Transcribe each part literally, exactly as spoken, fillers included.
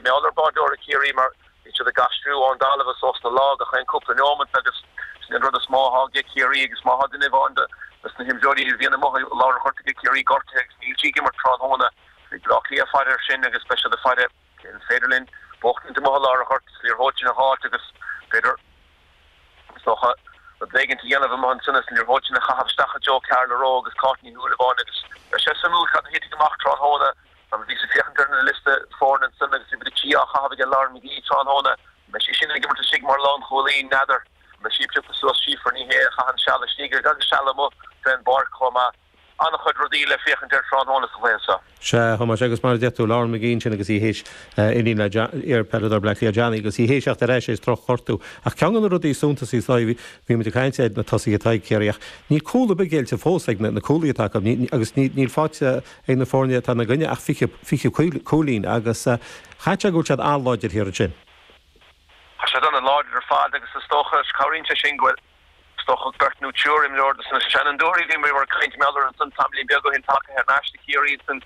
mar gheall ar bádóirí Chiarraí mar bhí siad ag aistriú ón dtalamh suas na lá gach aon cúpla nóiméad agus sin an rud is mó atá ag Ciarraí agus má tá duine amháin de na himreoirí a bhíonn amuigh i lár an ghoirt ag Ciarraí gortaithe agus níl sí ag imirt tráthnóna. Beidh Bleá Cliath ag faire air sin agus beidh siad ag faire an féidir linn buachtaint amuigh i lár an ghoirt is liathróid sin a fháilt agus b'fhéidir is dócha rud éigin a dhéanamh amuigh ansin is an liathróid sin a chaitheamh isteach i dtreo Carla Rowe agus Cáit Ní Shúilleabháin agus beidh sé suimiúil cad a thitfidh amach tráthnóna mar bhíos ag féachaint ar na liosta foirne ansin agus bhí Bridget á chaitheamh ag Lauren McGee tráthnóna. An mbeidh sí sin ag imirt istigh mar lánchúlaí? N'fheadar. An mbeidh sí ag piocadh suas Síofra Ní Shé a chaitheann seal istigh agus seal amuigh fén bpáirc chomh maith. An-chuid rudaí le féachaint air tráthnóna sa chluiche seo. Sea, a Thomáis, agus mar a deir tú, Lauren McGee ansin agus í théis iníon le iar-pheileadóir Bleá Cliath Johnny agus í théis theacht ar ais théis drochghortú. Ach ceann de na rudaí is suntasaí is dóigh, bhí muid ag caint ar na tosaithe atá ag Ciarraí ach níl cúl ar bith géillte fós ag na cúlaithe atá acu agus níl faighte ag na foirne atá ina gcoinne ach fiche fiche cúilín agus chaithfeadh sé go bhfuil siad an-láidir thiar ansin. Tá siad an-láidir ar fad agus is dócha, cabhraíonn sé sin go bhfuil Is dócha beirt nó triúr imreoir de na seanfhondúirí a bhíomar ag caint mar gheall orthu ansan tamaillín beag ó shin tagtha thar n-ais do Chiarraí ansan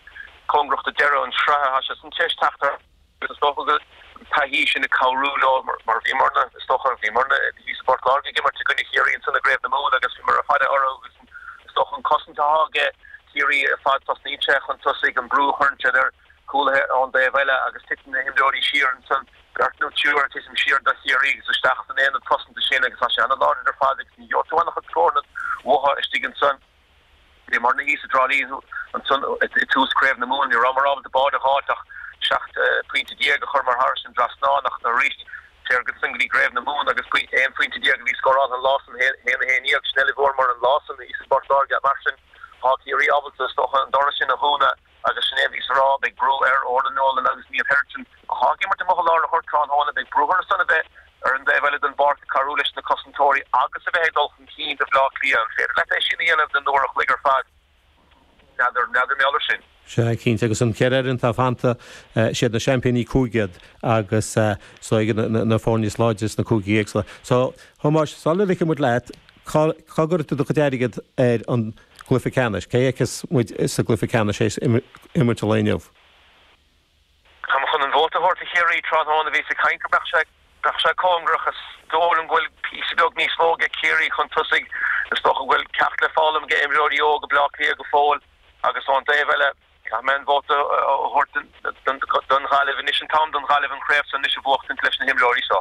cóngarach do deireadh an sraithe. Tá sé san tar éis teacht ar agus is dócha go bhfuil an taithí sin ag cabhrú leo mar bhíomarna, is dócha, bhíomarna thíos i bPort Láirge ag imirt i gcoinne Chiarraí ansan i gCraobh na Mumhan agus bhíomar ag faire orthu agus is dócha an cosaint atá aige Ciarraí ar fad tosnaíonn sé chun tosaigh, an brú a chuireann siad ar chúlaithe ón dtaobh eile agus titeann na himreoirí siar ansan, beirt nó triúr ag titim siar do Chiarraí agus isteach san aonad cosanta sin agus tá sé an-láidir ar fad agus ní gheobhaidh tú an-chuid scóranna uathu istigh ansan. Bhíomarna thíos i dTrá Lí ansan i dtús Craobh na Mumhan, ní rabhamar ábalta bád a dh'fháilt ach seacht pointe déag a chur mar thairis an dtrasnán ach arís téir ansan go dtí gCraobh na Mumhan agus aon phointe déag a bhí scóráltha an lá san, haon a haon déag, sin uilig a bhfuaireamar an lá san thíos i bPort Láirge. Mar sin tá Ciarraí ábalta is dócha an doras sin a dhúnadh. Agus sin é a bhíos a rá, beidh brú ar Orla Nolan agus Niamh Brereton, atá ag imirt amuigh i lár an ghoirt tráthnóna, beidh brú orthu san a bheith ar an dtaobh eile den bpáirc ag cabhrú leis na cosantóirí agus a bheith ag dul chun cinn do Bhleá Cliath. An féidir leat é sin a dhéanamh don uair a chloig ar fad? N'fheadar, n'fheadar mar gheall air sin. Sea, cinnte, agus an ceithre fhoireann atá fanta, siad na seaimpíní cúige iad agus is dóigh na foirne is láidre sna cúigí éagsúla. So, Thomáis, sula ligfidh muid leat, cá gcuirfidh tú do chuid airgid ar an gcluiche ceannais? Cé a fheicfeas muid sa gcluiche ceannais théis imirt an lae inniu? Tá mé chun an vóta a thabhairt do Chiarraí tráthnóna. Bhíos ag caint go mbeadh sé mbeadh sé cóngarach. Is dóigh liom go bhfuil píosa beag níos mó ag Ciarraí chun tosaigh. Is dócha go bhfuil ceacht le foghlaim ag imreoirí óga Bhleá Cliath go fóill agus ón dtaobh eile, caithfidh mé an vóta a thabhairt don Ghaillimh. Anois an t-am don Ghaillimh an chraobh seo anois a bhuachtaint leis na himreoirí seo.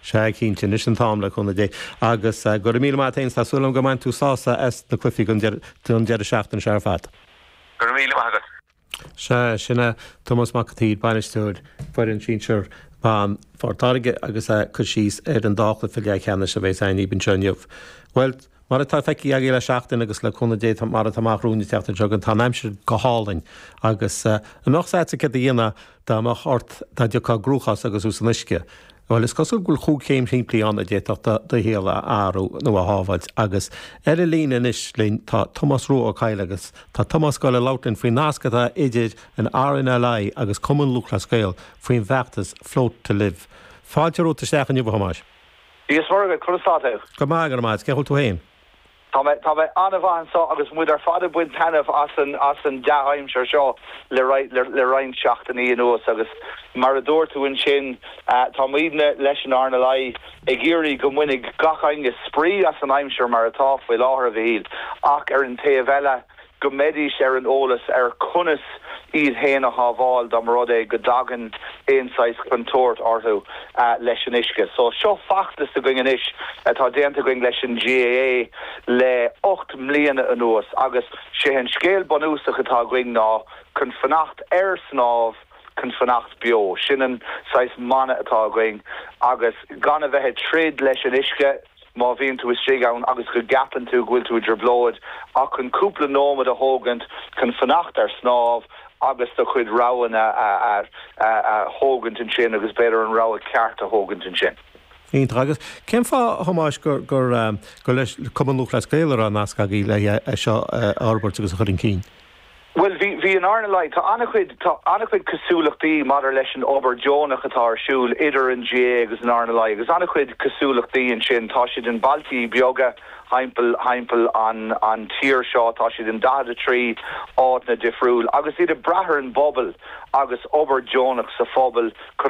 Sea, cinnte, anois an t-am le cúnamh Dé. Agus go raibh míle maith agat féin, tá súil agam go mbainfidh tú sásamh as na cluichí don deireadh seachtaine seo ar fad. Go raibh míle maith agat. Sea, sin é Tomás Mac an tSaoir, bainisteoir foireann sinsir ban Phort Láirge agus é ag cur síos ar an dá chluiche leathcheannais a bheas againn anseo inniu. Bhuel, Mar atá feicthe agaibh le seachtain agus le cúnamh Dé mar atá amach romhainn an tseachtain seo chugainn, tá an aimsir go hálainn agus an mbeadh 's agatsa céard a dhéanfá dá mbeadh ort, dá dtiocfá i gcruachás agus thú san uisce? Bhuel, is cosúil go bhfuil chúig chéim shimplí ann a d'fhéadfadh do shaol a athrú nó a shábháilt agus ar an líne anois linn tá Tomás Rua Ó Cadhla agus tá Tomás ag gabháil a labhairt linn faoin nasc atá idir an RNLI agus Cumann Lúthchleas Gael faoin bhfeachtas Float to Live. Fáilte romhat isteach inniu, a Thomáis. Dia is Muire dhuit, conas tá tú? Go maith, go raibh maith agat. Cén chaoi a bhfuil tú féin? Tá mé, tá mé an-mhaith anseo agus muid ar fad ag baint taitneamh as an, as an dea-aimsir seo le, le, le roinnt seachtainí anuas agus mar a dúirt tú ansin, tá muidne leis an RNLI ag iarraidh go mbainfidh gach éinne spraoi as an aimsir mar atá faoi láthair, a Mhichíl, ach ar an taobh eile, go mbeidís ar an eolas ar conas iad féin a shábháil dá mba rud é go dtagann aon saghas contúirt orthu leis an uisce. So seo feachtas againn anois atá déanta againn leis an GAA le ocht mbliana anuas agus sé an scéal bunúsach atá againn ná chun fanacht ar snámh, chun fanacht beo. Sin an saghas mana atá againn agus gan a bheith ag troid leis an uisce, má bhíonn tú istigh ann agus go gceapann tú go bhfuil tú i dtrioblóid, ach chun cúpla nóiméad a thógaint chun fanacht ar snámh agus do chuid roghanna a thógaint ansin agus b'fhéidir an rogha ceart a thógaint ansin. Iontach. Agus cén fáth, a Thomáis, gur gur leis Cumann Lúthchleas Gael a raibh nasc agaibh le é seo a fhorbairt agus a chur chun cinn? Bhuel, bhí, bhí an RNLI, tá an-chuid, tá an-chuid cosúlachtaí maidir leis an obair deonach atá ar siúl idir an GAA agus an RNLI agus an-chuid cosúlachtaí ansin. Tá siad in bailtí beaga thimpeall, thimpeall an, an tír seo, tá siad in daichead a trí áiteanna difriúil agus iad ag brath ar an bpobal agus obair deonach sa phobal chun